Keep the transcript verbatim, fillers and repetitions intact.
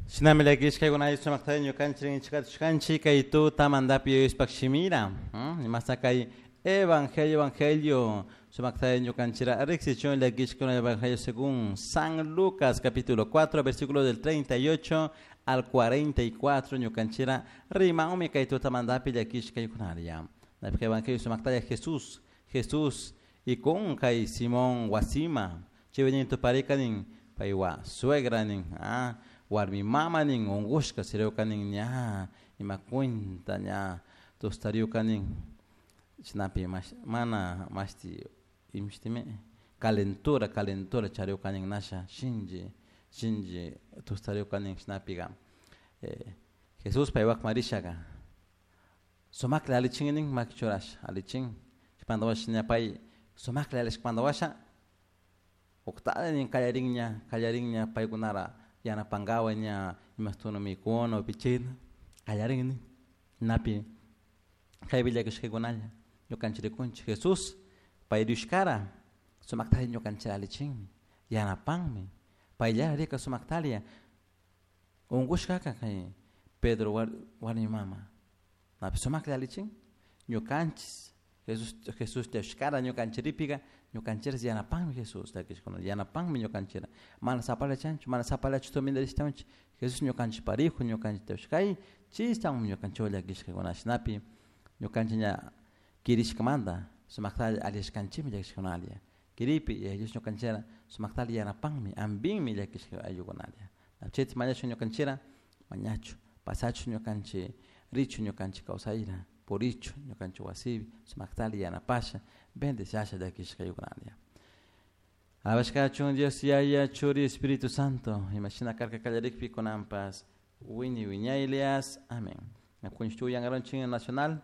Shinami llakishkakuna sumakta ñukanchik rinchikatushkanchik kay tutamantapi Diospaq shimira imasta kay evangelio evangelio sumakta ñukanchira riksichun llakishkuna evangelio según San Lucas capítulo cuatro versículo del treinta y ocho al cuarenta y cuatro ñukanchira rimanmi kay tutamantapi llakishkaykunaria. Evangelio sumaktalla Jesús Jesús y con kay Simón wasima chaypi tuparika nin paywa suegra nin, ah, warmi mama nin unqushka siriuka nin ña ima cuenta ña tustariuka nin chaynapi mana mashti imashtimi calentura calentura chariuka nin nasha shinchi shinchi tustariuka nin chaynapiga eh, Jesús paywakman rishaga sumakla alichin nin maki churasha alichin chaypanta washa ña pay sumakla alishkamanta washa uktalla nin kallarinña kallarinña paykunara yanapankawa ña imastuna mikuna upichina kallarin nin napi kaypi llakishkakunalla ñukanchik rikunchik Jesús pay rishkara sumaktalla ñukanchik alichinmi yanapanmi payllara rika sumaktalla unkushkaka kay Pedro warmi mama napi sumaklla alichin ñukanchik Jesús Jesús tiyashkara ñukanchikpiga ñukanchik yanapanmi Jesús llakishkuna yanapanmi ñukanchik mana sapalla chanchu mana sapallachu tumindarishtawanchik Jesús ñukanchik parijo ñukanchik tiyashkay chistan ñukanchik llakishkakuna shinapi ñukanchik ña kirishkamanta sumaktalla alishkanchikmi llakishkunalla kiripi Dios ñukanchikra sumaktalla yanapanmi ampinmi llakishka ayllukunalla chayta mañashun ñukanchikra mañachu pasachu ñukanchik richu ñukanchik kawsayra purichu ñukanchik wasipi sumaktalla yanapasha bendeciasha llakishka ayllukunalla. Alabashkachun Dios Yaya, Churi, Espíritu Santo, imashina karka kallarikpi kunanpas wiñay wiñaylias. Amén. Nacional.